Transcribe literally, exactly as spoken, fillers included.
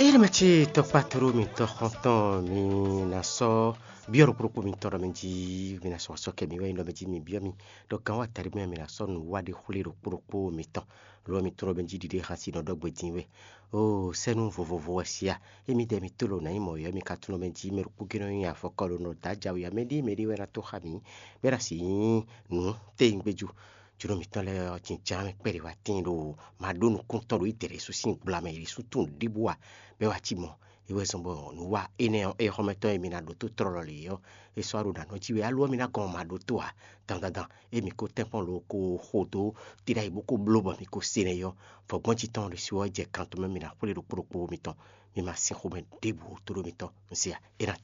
Ényí mɛ ce tɔkpá tlóló mitɔn xɔntɔn mi ná sɔ́ byɔ́ ɖokpó ɖokpó mitɔn ɖɔ mɛ jí mi ná sɔ́ asɔ́ kɛ mi wɛ nyí ɖɔ mɛ jí mi byɔ́ mi ɖɔ gǎn wa taɖi mɛ mi ná sɔ́ nǔ wa ɖé xwlé ɖokpó ɖokpó mitɔn. Lo mi tlóló mɛ jí ɖiɖe xasi nɔ ɖɔ gbe dín wɛ. Oo sɛ́nú vovovo wɛ sia. Émí dɛ mi tlóló nǎ nyí mɔ̌ yɔ́ mi ka tlóló mɛ jí mɛ ɖokpó gé nɔ nyi afɔkɔ ɖo nɔ dǎ jawe ǎ mɛ ɖíe mɛ ɖíe wɛ ná tó xá mǐ bɔ é ná sixú nyí nǔ téyígbéjú. Jǒnɔ mǐtɔn lɛ́ɛ ɔ́, jǐnján mɛ kpɛɖé wá tíin ɖo maɖó nukúntɔn ɖo Ídɛlɛsu sín gbla mɛ, yě ɖésú tunwun ɖěbǔ ǎ, bɔ é wá cí mɔ̌. É wɛ zɔ́n bɔ nǔ wa énɛ́ ɔ́, é xɔ́mɛtɔ́ e mi ná ɖótó tlɔ́ lɔ lě ɔ́, é sɔ́ wá ɖo nǎ nɔ jí wɛ, á lo ɔ́, mi ná gɔn maɖótó ǎ. Dandan, ée mi ko tɛ́nkpɔ́n lo ko xo dó tíɖá yi bó ko bló bɔ mi ko se nɛ́ ɔ́, vɔ̌gbɔ́n jí tɔn ɖésú ɔ́ jɛ kan tɔn mɛ mi ná xwlé ɖokpó ɖokpó mitɔn. Mi ma sin xomɛ ɖěbǔ tlóló mitɔn, un se ǎ. É ná cɛ